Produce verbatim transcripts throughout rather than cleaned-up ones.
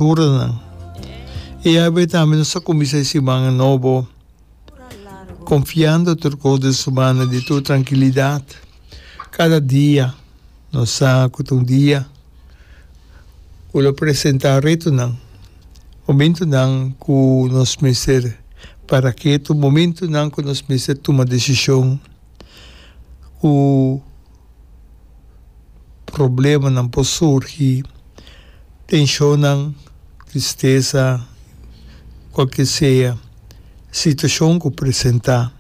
Huranan. I awe tambe nos ta kuminsá e siman nobo konfiando tur kos den su mano di tur trankilidat. Kada dia nos sa ku ta un dia ku lo presentá retonan, momentunan ku nos mester para ketu, momentunan ku nos mester tuma desishon ku Problemanan por surgi, tenshonnan, tristesa, kualke sea situashon ku presentá.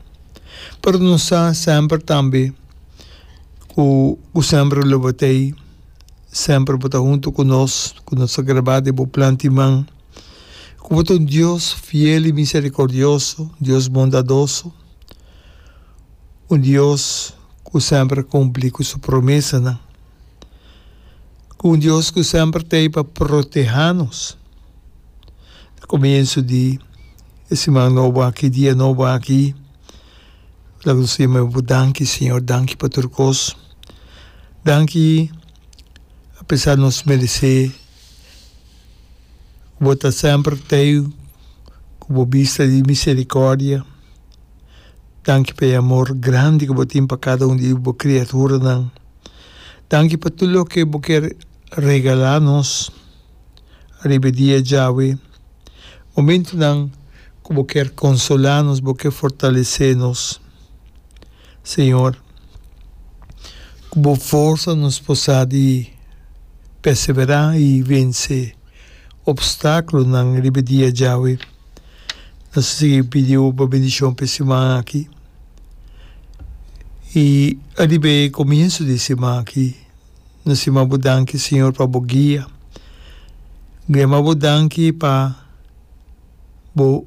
Pero nos sa semper tambe ku bo semper lo bo ta ei, semper bo ta huntu ku nos, ku nos ta grabá den bo plan di man, ku bo ta un Dios fiel i miserikordioso, Dios bondadoso, un Dios ku semper a kumpli ku su promesanan, ku un Dios ku semper ta ei pa protehá nos. Na komienso di e siman nobo aki, dia nobo aki, laga nos yama bo danki, Señor, danki pa tur kos. Danki apesar nos meresé, ku bo ta semper ta ei ku bo bista di miserikòrdia. Danki pa e amor grandi ku bo tin pa kada un di bo kriaturanan. Danki pa tur loke bo kier regalá nos riba e dia djawe. Momentunan ku bo kier konsolá nos, bo kier fortalesé nos. Señor, ku bo forsa nos por sa di perseverá i vense opstákulonan riba e dia djawe. Nos ta sigui pidi bo pa bendishon pa e siman aki i ariba e komienso di e siman aki. Nos yama bo danki, Señor, pa bo guia. Yama bo danki pa bo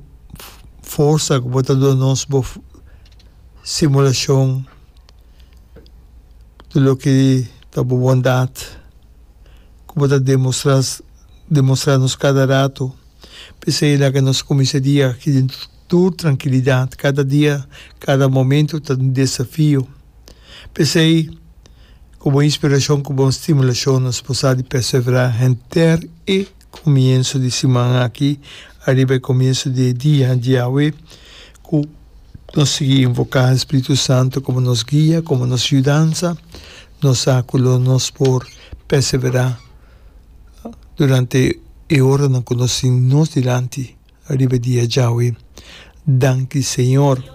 forsa ku bo ta duna nos, bo simulashon, tur loke ta bo bondat ku bo ta demostra demostra nos kada rato. P'esei laga nos kuminsá dia aki den tur trankilidat. Kada dia, kada momentu ta un desafio. P'esei, ku bon inspirashon, ku bon stimulashon nos por sa di perseverá henter e komienso di siman aki, ariba e komienso di e dia djawe, ku nos sigui invoká e Spiritu Santu komo nos guia, komo nos yudansa, nos sa ku lo nos por perseverá durante e oranan ku nos tin nos dilanti riba e dia djawe. Danki Señor.